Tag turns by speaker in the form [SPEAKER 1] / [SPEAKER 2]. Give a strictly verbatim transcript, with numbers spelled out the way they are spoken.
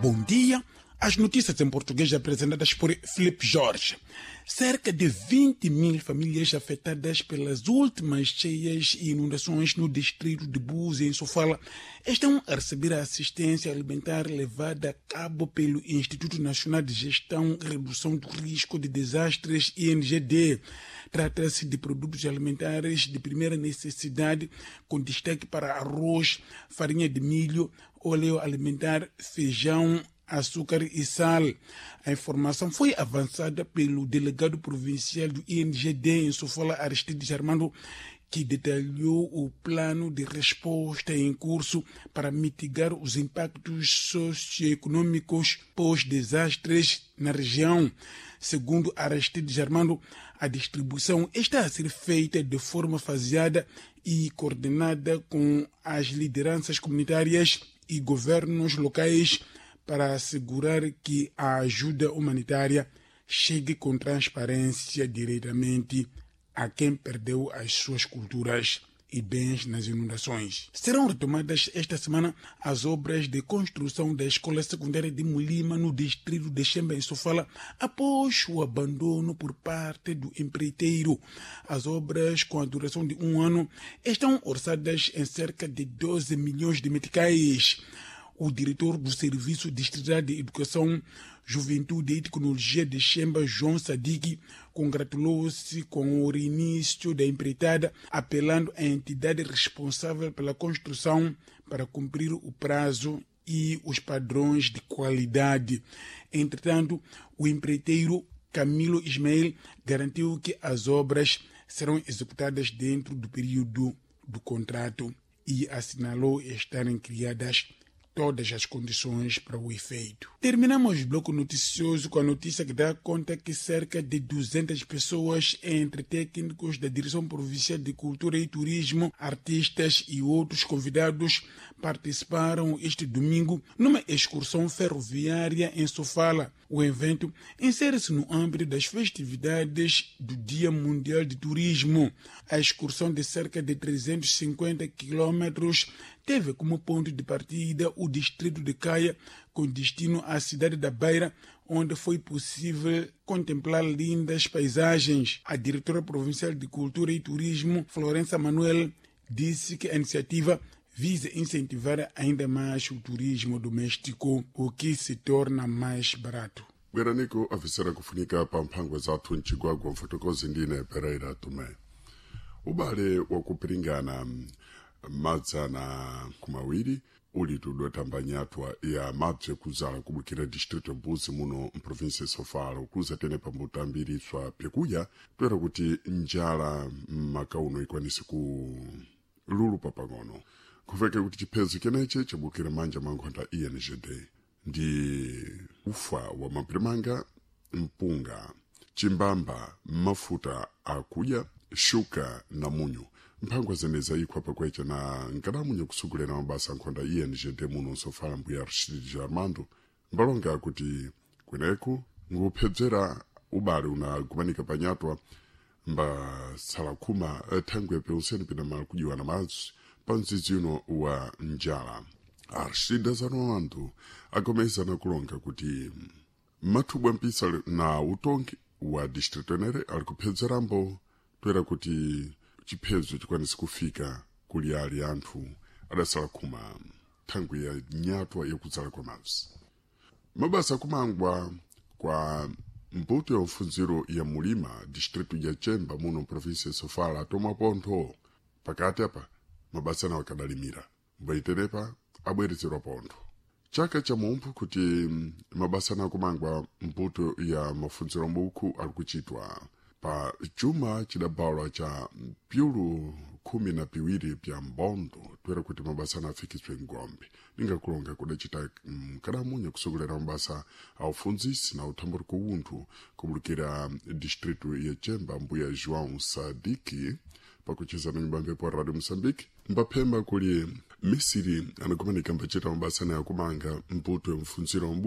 [SPEAKER 1] Bom dia. As notícias em português apresentadas por Felipe Jorge. Cerca de vinte mil famílias afetadas pelas últimas cheias e inundações no distrito de Búzi, em Sofala, estão a receber a assistência alimentar levada a cabo pelo Instituto Nacional de Gestão e Redução do Risco de Desastres, I N G D. Trata-se de produtos alimentares de primeira necessidade, com destaque para arroz, farinha de milho, óleo alimentar, feijão, açúcar e sal. A informação foi avançada pelo delegado provincial do I N G D em Sofala, Aristides Armando, que detalhou o plano de resposta em curso para mitigar os impactos socioeconômicos pós-desastres na região. Segundo Aristides Armando, a distribuição está a ser feita de forma faseada e coordenada com as lideranças comunitárias e governos locais para assegurar que a ajuda humanitária chegue com transparência diretamente a quem perdeu as suas culturas e bens nas inundações. Serão retomadas esta semana as obras de construção da Escola Secundária de Mulima, no distrito de Chemba, em Sofala, após o abandono por parte do empreiteiro. As obras, com a duração de um ano, estão orçadas em cerca de doze milhões de meticais. O diretor do Serviço Distrital de Educação, Juventude e Tecnologia de Chemba, João Sadiki, congratulou-se com o reinício da empreitada, apelando à entidade responsável pela construção para cumprir o prazo e os padrões de qualidade. Entretanto, o empreiteiro Camilo Ismael garantiu que as obras serão executadas dentro do período do contrato e assinalou estarem criadas todas as condições para o efeito. Terminamos o bloco noticioso com a notícia que dá conta que cerca de duzentas pessoas, entre técnicos da Direção Provincial de Cultura e Turismo, artistas e outros convidados, participaram este domingo numa excursão ferroviária em Sofala. O evento insere-se no âmbito das festividades do Dia Mundial de Turismo. A excursão de cerca de trezentos e cinquenta quilômetros teve como ponto de partida o distrito de Caia, com destino à cidade da Beira, onde foi possível contemplar lindas paisagens. A diretora provincial de Cultura e Turismo, Florença Manuel, disse que a iniciativa visa incentivar ainda mais o turismo doméstico, o que se torna mais barato.
[SPEAKER 2] Bweraniku afisera kufunika pa mphangwa zathu mchigwagwa mfotokozi ndine Pereira Tomé. Ubale wakupiringana madzana kumawiri uli tudotamba nyatwa ya mabze kuzala kubukira distrito Buzi muno mprovinsia Sofala kuza tene pambutambiriswa pyakudya toera kuti njala mmakauno ikwanise ku lulupa pang'ono kuveke kuti chiphezo cheneche chabukira manja mankhonda I N G D ndi ufa wa mapirimanga, mpunga, chimbamba, mafuta akudya, shuka na munyu. Mphangwa zeneza ikhwa pakwecha na nkadamunye kusugulera mabasa nkhonda I N G D muno Sofala mbuya Aristide Armando mbalonga akuti kweneku nguphedzera ubale unagumanika panyatwa mbatsala khuma thangwe peuseni pina mali kujiwa na madzi pa mdzidzi uno wa njala. Aristide Armando agomezana kulonga kuti mathubwa mpisa na utongi wa distrito enere ali kupedzerambo toera kuti chiphezo chikwanise kufika kuli ali anthu adasala khuma thangwi ya nyatwa yakudzala kwa madzi. Mabasa kumangwa kwa mbuto ya mfunziro ya mulima distrito ya Chemba muno provinsia ya Sofala atomwa pontho pakati apa mabasa nawo akadalimira mbaitenepa abwerezerwa pontho chaka cha mumphu kuti mabasa na kumangwa mbuto ya mafunziro mbuku ali kuchitwa pa chuma chidabalwa cha pyulu khumi na piwiri pya mbondo toera kuti mabasa anafikiswe ngombe ningakulonga kudacita mkadamunya kusogolera mabasa a ufunzisi na uthamburi kuwunthu kubulukira distrito ya Chemba mbuya João Sadiki pakucheza na nyumba mphepo Radio Moçambique mbaphemba kuli misiri anakumanika mbachita mabasa na yakumanga mbuto ya mfunziro mbuku